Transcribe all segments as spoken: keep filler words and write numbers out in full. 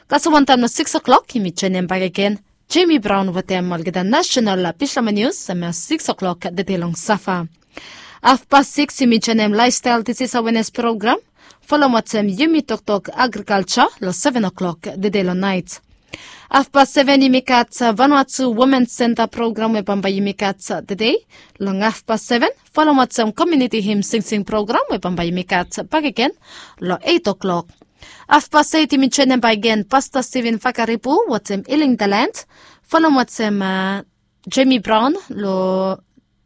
Kasem wantaem long sikis o'klok yumi joenem bakegen Jemi Braon wetem olgeta nasenal pis blong nius, hem ya sikis o'klok tede long safa. Afpas sikis yumi joenem laefstael disis awenes program, folem wetem yumi toktok agrikalja long seven o'klok tede long naet. Afpas seven yumi gat Vanuatu Women Senta program we bambae yumi gat tede long afpas seven, folem wetem komiuniti him singsing program we bambae yumi gat bakegen long eit o'klok. Afpas eit yumi joenem bakegen Pasta Steven Fakaripu wetem Healing the Land, folem wetem Jemi Braon long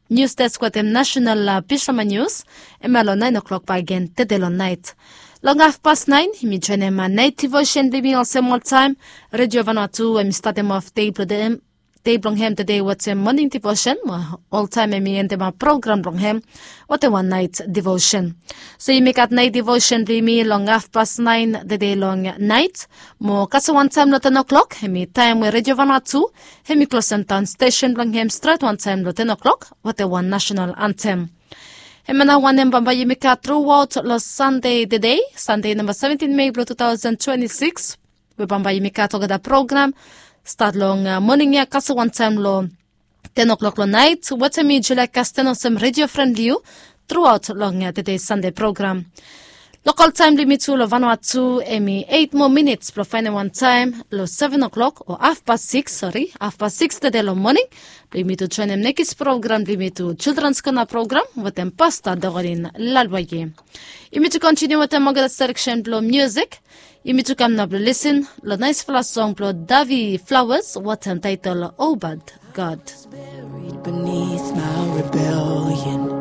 nius desk wetem nasenal pis blong nius, hem ya long naen o'klok bakegen tede long naet. Long afpas naen yumi joenem naet divosen blong yumi olsem oltaem. Redio Vanuatu hemi statem of dei blong hem, dei blong hem tede wetem moning divosen, mo oltaem hemi endem program blong hem wetem wan naet divosen. So yumi gat naet divosen blong yumi long afpas naen tede long naet, mo kasem wantaem long ten o'klok hemi taem we Redio Vanuatu hemi klosem daon stesen blong hem stret wantaem long ten o'klok wetem wan nasenal antem. Hemia nao wanem bambae yumi gat truaot long Sande tede, Sande namba seventin Mei blong tu taosen twenti sikis, we bambae yumi gat olgeta program stat long moning ya kasem wantaem long ten o'klok long naet wetem mi Julia Kasten olsem redio fren blong yu truaot long tede Sande program. Lokol taem blong yumi tu long Vanuatu hemi eit moa minits blong faenem wan taem long seven o'klok o afpas sikis, sori, afpas sikis tede long moning blong yumi tu joenem nekis program blong yumi tu, Children's Corner program wetem Pasta Dorin Lalwaye. Yumi tu kontiniu wetem olgeta seleksen blong miusik. Yumi tu kam nao blong lisin long naesfala song blong Davi Flowers wetem taetol Obad God. Buried beneath my rebellion.